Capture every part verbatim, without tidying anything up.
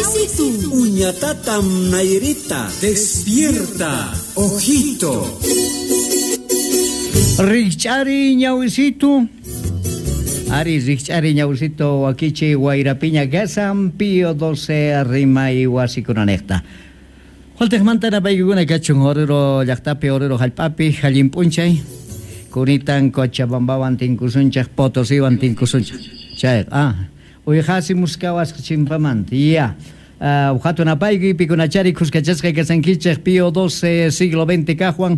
Ñawisitu. Uñatatam Nairita. Despierta, ojito. Rikch'ari ñawisitu. Ari rikch'ari ñawisitu wakichi wayrapiña kasan Pío doce rimay wasikunanejta. Holtejmanta napaykuna kachun Oruro llaqtapi, Oruro hallp'api, allin p'unchay. Kunitan Cochabambawan tinkusunchaj, Potosiwan tinkusunchaj. Chay, ah, uyqasi muskawasqa chimpamanta. Ya. Uh, hatun apaykuy pikunachari khuskachasqa kasankichej Pío doce siglo veinte kajwan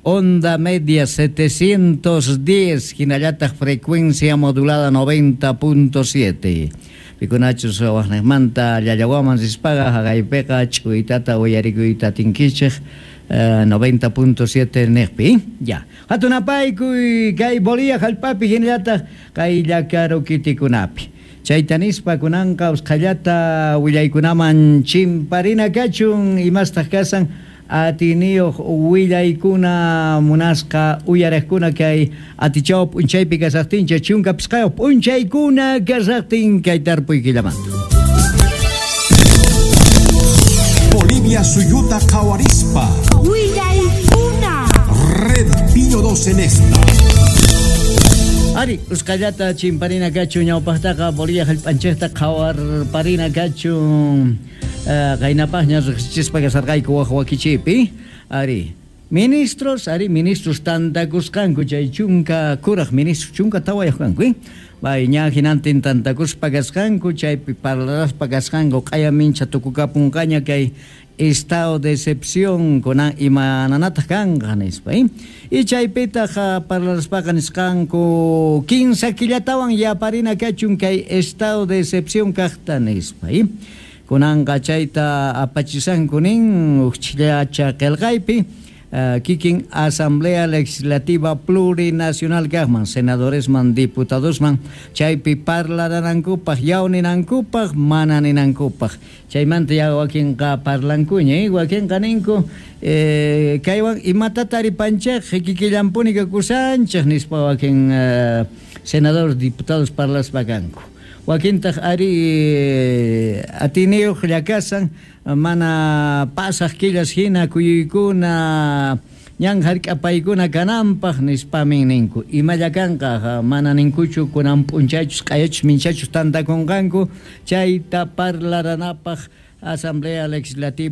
onda media setecientos diez, hinallataq frecuencia modulada noventa punto siete. Pikunachus waqnejmanta llallawaman rispaqa haqaypiqa ch'uytata uyarikuyta tinkichej uh, noventa punto siete nejpi. Ya. Hatun apaykuy kay Bolivia hallp'api hinallataq kay llakarukitikunapi. Chayta nispa kunanqa usqhallata willaykunaman chimparina kachun imastaq kasan atiniyuq willaykuna munasqa uyaraqkuna kay atichaw p'unchaypi kasaqtincha chunka pisqayuq p'unchaykuna kasaqtin kay tarpuy killamanta. Bolivia suyuta qhawarispa. Willaykuna. Red Pío doce en esta. Ari, usqhallata chimparina kachun ñawpaqtaqa Bolivia hallp'anchikta qhawarparina kachun. Qaynapaqña riqsichispa kasarqayku waq wakichipi. Ari, ministros, ari, ministros tantakusqanku chay chunka kuraq ministros chunka tawayuq kanku, eh? Bay ña hinantin tantakuspa kasqanku chaypi parlaraspa kasqanku q'aya mincha tukukapunqaña kay estado de excepción kunan imananataq kanqa nispa, eh? Y chaypitaq parlaraspaqa nisqanku kinsa killatawan yaparina kachun kay estado de excepción kaqta nispa, eh? Kunanqa chayta apachisanku nin uqchillacha qillqaypi uh, kikin Asamblea Legislativa Plurinacional kaqman senadoresman diputadosman chaypi parlaranankupaq yawninankupaq mana ninankupaq chaymanta ya wakinqa parlankuña, eh? Wakinqa ninku eh, kaywan imatata taripanchej kikillanpuni kakusanchej nispa wakin uh, senadores diputados parlaspa kanku. Wakintaq ari atiniyuq llakasan mana pasaq killas hina kuyuykuna ñan hark'apaykuna kananpaq nispamin ninku. Imalla kanqa mana ninkuchu kunan p'unchaychus q'ayachus minchachus tantakunqanku chayta parlaranapaq Asamblea Legislativa